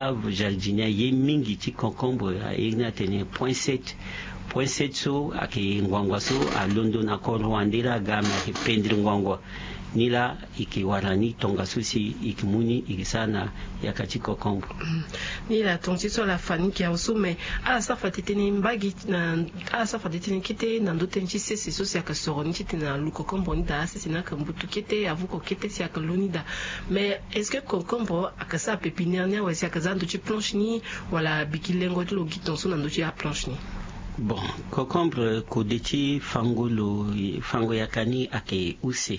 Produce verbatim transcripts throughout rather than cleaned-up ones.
Jardinier aye mingi ti concombre, aye ni atene poinset. Poinset so ayeke ngbangua so alondo na koro wande la aga me ayeke pendere ngbangua. Ni la e yeke wara ni tongaso si e yeke mu ni e yeke sara na yaka ti concombre. Ni la tonga ti so ala fa ni yeke awe so me ala sara fa tete ni mbage na ala sara fa tete ni kete na ndö tënë ti sese so si ayeke soro ni titene alu concombre ni daa, sese ni ayeke mbutu kete, avuko kete si ayeke lu ni daa. Mais est-ce que concombre ayeke sara pépinière ni awe si ayeke za ndö ti planche ni, wala biki lengo ti lo gi tongaso na ndö ti aplanche ni? Bon, concombre kode ti fango lo, fango yaka ni ayeke use.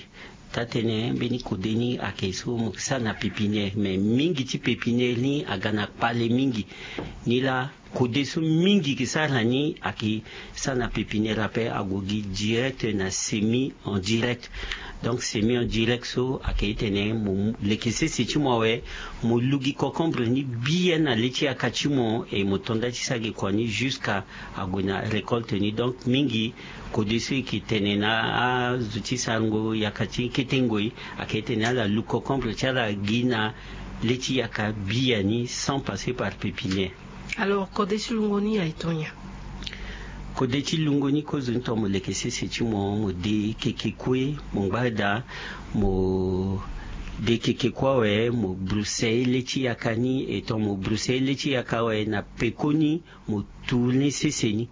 Taa-tënë mbeni kode ni ayeke so mo yeke sara na pépinière, mais mingi ti pépinière ni aga na kpale mingi. Ni la kode so mingi yeke sara na ni ayeke sara na pépinière ape, ague gi direct na semi en direct. Donc semi en direct so ayeke titene mo leke sese ti mo awe, mo lu gi concombre ni bien na le ti yaka ti mo, e mo to nda ti sara gi kua ni jusqu'à ague na récolte ni. Donc mingi kode so e yeke tene na azo ti sarango yaka ti kete ngoi ayeke tene ala lu concombre ti ala gi na le ti yaka biani sans passer par pépinière. Alors kode ti lungo ni aye tongana nyen? Kode ti lungo ni kozoni tongana mo leke sese ti mo, mo de keke kue, mo ngba daa, mo de keke kue awe, mo bruse le ti yaka ni. E tongana mo bruse le ti yaka awe, na pekoni mo tourner sese ni.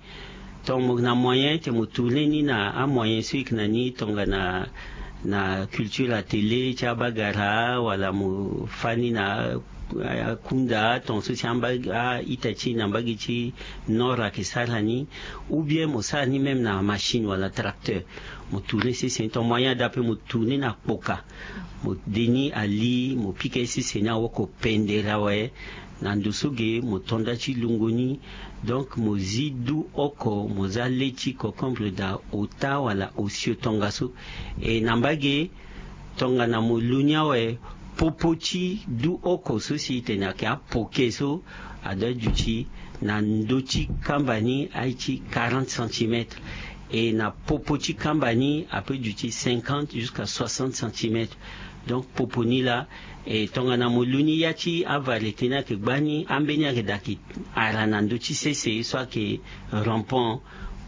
Tongana mo na moyen ti mo tourner ni na amoyen so e yeke na ni, tongana na culture atelier ti abagara, wala mo fâ ni na akunda, tongaso si amba a-ita ti e na mbage ti nord ayeke sara ni. Ou bien mo sara ni même na machine wala tracteur. Mo tourner sese ni, tongana moyen ada ape mo tourner na kpoka. Mo de ni ali, mo pika ye sese ni awoko pendere awe. Na ndo so ge mo to nda ti lungo ni. Donc mo zi du oko, mo za le ti concombre daa ota wala osio tongaso. E na mbage tongana mo lu ni awe, popo ti du oko so si e tene ayeke apoke so, adoit duti na ndö ti kamba ni aye ti quarante centimètres. E na popo ti kamba ni ape duti cinquante jusqu'à soixante centimètres. Donc popo ni la, e tongana mo lu ni ya ti avariété ni ayeke gbani, ambeni ayeke daa ayeke ara na ndö ti sese so ayeke rampant.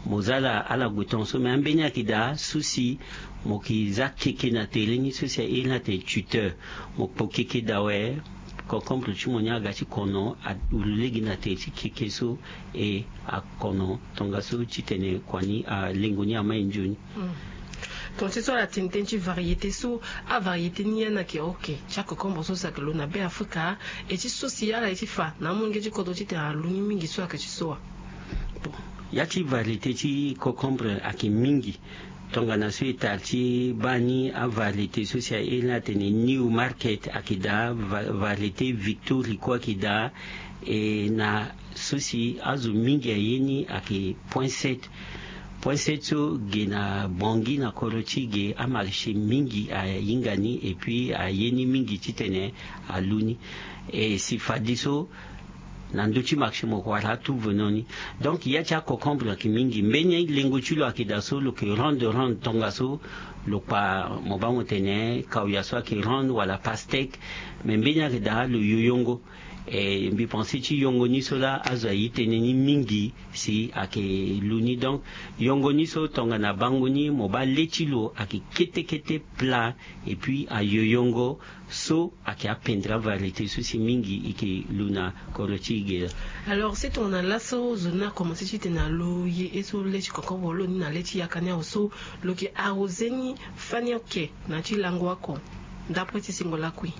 Mo za ala, ala gue tongaso, me ambeni ayeke daa so si mo yeke za keke na tere ni so si a iri ni atene tuteur. Mo kpo keke daa awe, concombre ti mo ni aga ti kono, auru lege na tere ti keke so, e akono tongaso titene kua ni, alengo ni amai nzoni. Tonga ti so ala tene tënë ti variété so, avariété ni ya ni ayeke ok ti acocombre so si ayeke lo na Be Afrika, e ti so si ala ye ti fa na amolenge ti kodro titene alu ni mingi so ayeke ti so wa? Bon, ya ti variété ti cocombre ayeke mingi. Tongana so e tara ti baa ni avariété so si a iri ni atene New Market ayeke daa, va-, variété Victory kue ayeke daa, e na so si azo mingi aye ni ayeke poinset. Poinset so ge na Bangui na kodro ti ge, amarché mingi ahinga ni et puis aye ni mingi titene alu ni. E si fadeso na ndö ti marché mo wara atu venant ni. Donc ya ti acocombre ayeke mingi. Mbeni lengo ti lo ayeke daa so lo yeke ronde ronde tongaso, lo kpa mo baa mo tene kawia so ayeke ronde wala pastèque. Me mbeni ayeke daa lo yoyongo. E mbi pense ti yongo ni so laa azo aye tënë ni mingi si ayeke lu ni. Donc yongo ni so tongana bango ni mo baa le ti lo ayeke kete kete plat et puis ayoyongo. So ayeke apendre avariété so si mingi e yeke lu na kodro ti e ge laa. Alors si tongana laso zo ni akomanse titene alu ye ye so le ti concombre lo ni na le ti yaka ni awe so, lo yeke arrosé ni fani oko na ya ti lango oko? D'après ti singo lakui.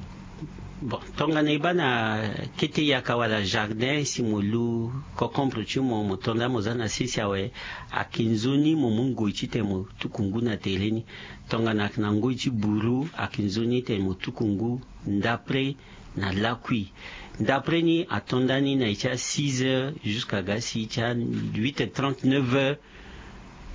Bon, tongana e baa na kete yaka wala jardin si mo lu concombre ti mo, mo to nda mo za na sese awe, ayeke nzoni mo mu ngoi titene mo tuku ngu na tere ni. Tongana ayeke na ngoi ti buru, ayeke nzoni titene mo tuku ngu ndapre na lakui. Ndapre ni ato nda ni na e ti a six heures jusqu'à ga si ti a huit heures trente, neuf heures.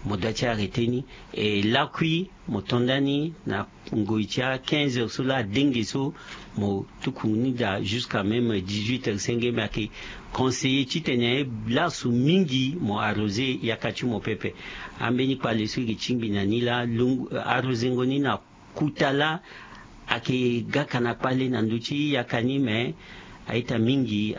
Mo doit ti arrêter ni. E lakui mo to nda ni na ngoi ti a quinze heures so laa adenge so, mo tuku ni daa jusqu'à même dix-huit heures. Senge me ayeke conseiller titene laso mingi mo arroser yaka ti mo pepe. Ambeni kpale so e yeke tingbi na ni laa, arrosengo ni na kuta laa ayeke gaka na kpale na ndö ti yaka ni, me a-ita mingi.